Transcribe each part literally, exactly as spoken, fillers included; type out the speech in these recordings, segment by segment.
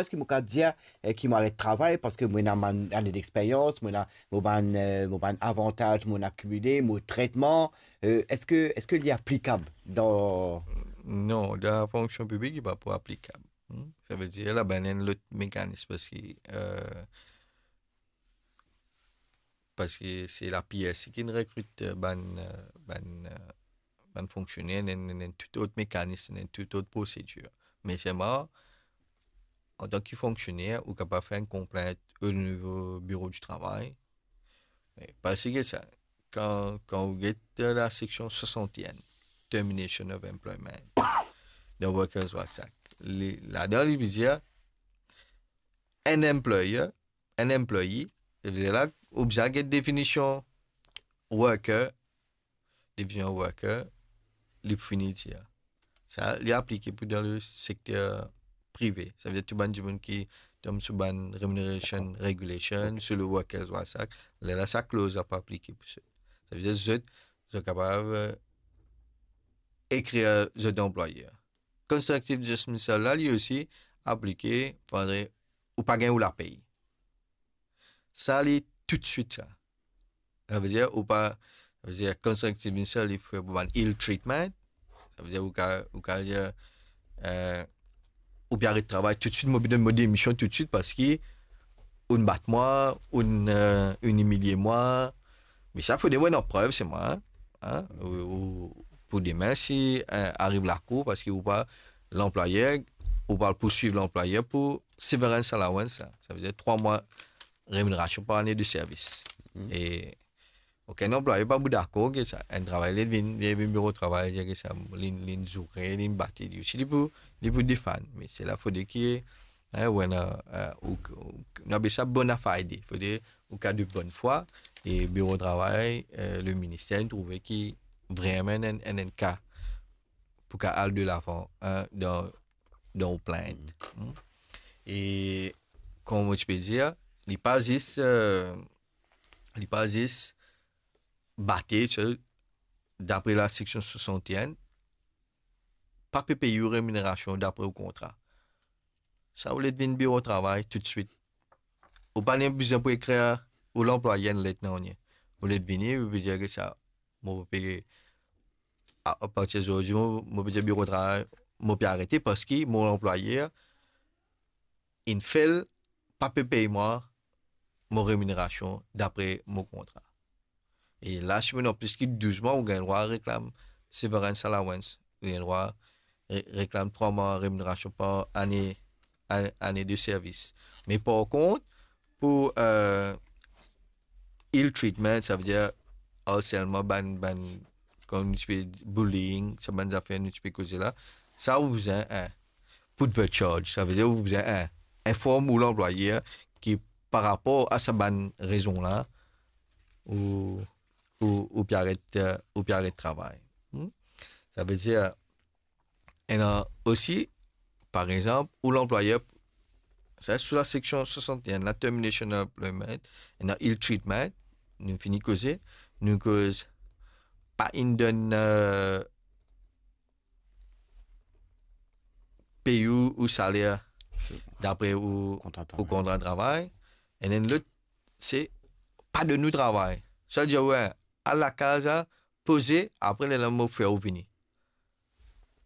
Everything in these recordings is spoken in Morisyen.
Eski mo kapav dir, eh, ki mo aret travay parski mo ena bann ane dexperyans, mo ena mo bann, eh, mo bann avantaz mo akimile, mo tretman, eh, eski, eski li aplikab dan... Non, dan lafonksion piblik, li pa pou aplikab. Hmm? Savedir, la bann enn lot mekanis parski, eh, parski se la P S C ki rekrit, eh, bann, eh, bann, eh, bann fonksioner, ena, ena, ena tou lot mekanis, ena tou lot prosedir. Me selman, antan ki fonksioner, ou kapav fer enn konplint o nivo biro di travay. Me pa seki sa, kan, kan ou get laseksion swasant-e-enn, termination of employment, dan Workers' Rights Act, li, ladan li pe dir, enn employer, enn employee, e la, ou bizin get definision worker, definision worker, li pou fini dir. Sa, li aplike pou dan le sekter prive. Savedir tou bann dimoun ki tonbe sou bann remuneration regulation, sou le Workers' Rights Act, lerla sa kloz la pou aplike pou zot. Savedir zot, zot kapav, eh, ekrir zot anplwayer. Constructive dismissal la, li osi aplike, fode ou pa gagn ou lapey. Sa, li toutswit sa. Savedir, ou pa, savedir, constructive dismissal, li fer pou bann ill treatment. Savedir, ou ka, ou ka dir, eh, ou pe aret travay toutswit, mo pe donn mo demision toutswit parski ou'nn bat mwa, ou'nn, eh, ou'nn imilie mwa. Me sa, fode mo ena prev, se mwa, hein, hein, ou, ou, pou demin, si, eh, ariv lakour, parski ou pa, lanplwayer, ou pa pouswiv lanplwayer pou severance allowance, sa. Savedir trwa mwa reminerasion par ane de servis. Mhm. E okenn anplwayer pa pou dakor ki sa, enn travayer li vinn, li vinn biro travay, dir ki sa, li, li'nn zoure, li'nn bate li. Si li pou, li pou defann, me se la fode ki, hein, ou ena, eh, ou, ou, nou apel sa bona fide, fode ou ka de bonn fwa, e biro travay, eh, le minister, inn trouve ki vreman enn, enn, enn ka pou ka al de lavan, hein, dan, dan ou plint. Hmm. E, kouma mo ti pe dir, li pa zis, eh, li pa zis bate, so, dapre laseksion swasant-e-enn, pa pe pey ou reminerasion dapre ou kontra. Sa, ou le vinn biro travay toutswit. Ou pa nem bizin pou ekrir ou lanplwayer enn let, nanye. Ou le vini, ou pe dir ki sa, mo pe, a, apartir zordi, mo, mo pe dir biro travay, mo pe arete parski mo lanplwayer inn fail, pa pe pey mwa mo reminerasion dapre mo kontra. E la, si mo ena plis ki douz mwa, ou gagn drwa reklam severance allowance, ou gagn drwa re-, reklam trwa mwa reminerasion par ane, ane, ane de servis. Me par kont, pou, eh, ill treatment, savedir harselman, bann, bann, kouma nou ti pe dir, bullying, sa bann zafer nou ti pe koze la, sa ou bizin, hein, put the charge, savedir ou bizin, hein, inform ou lanplwayer ki par rapor a sa bann rezon la, ou, ou, ou pe aret, eh, ou pe aret travay. Hmm? Savedir, ena osi, par exanp, ou lanplwayer, sa, sou laseksion swasant-e-enn, la termination of employment, ena ill treatment, nou fini koze, nou koz pa inn donn, eh, pey ou, ou saler dapre ou, kontra ou travay, kontra travay. E enn lot, se pa donn ou travay. Sa dir, we, al lakaz la, poze, apre lerla mo fer ou vini.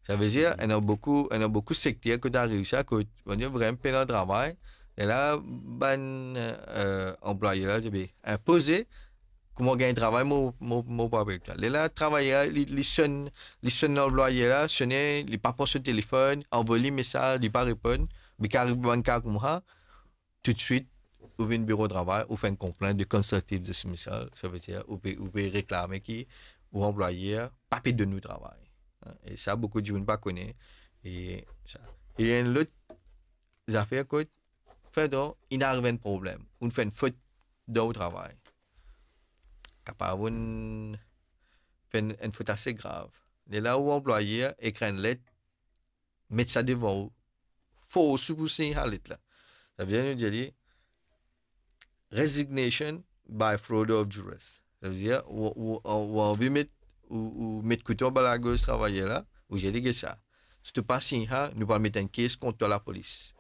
Savedir, ena boukou, ena boukou sekter kot ariv sa, kot, on dir, vreman pena travay. Lerla, bann, eh, anplwayer la, ti pe, hein, poze, kouma gagn travay, mo, mo, mo pou apel twa. Lerla, travayer la, li, li sonn, li sonn lanplwayer la, sone, li pa pran so telefonn, anvoy li mesaz, li pa reponn, be ki ariv bann ka koumsa, toutswit, ou vinn biro travay, ou fer enn konplint de constructive dismissal, savedir, ou pe, ou pe reklame ki ou anplwayer pa pe donn ou travay. Hein, e sa, boukou dimoun pa kone. E sa. E enn lot zafer kot, fendon, inn ariv enn problem, ou'nn fer enn fot dan ou travay. Kapav ou'nn fer enn, enn fot ase grav. Lerla ou anplwayer ekrir enn let, met sa devan ou, fors ou pou sign sa let la. Savedir nou dir li resignation by fraud or duress. Savedir ou, ou, ou, ou anvi met, ou, ou met kouto anba lagorz travayer la, ou dir li, get sa, si to pa sign sa, nou pou al met enn kes kont twa lapolis.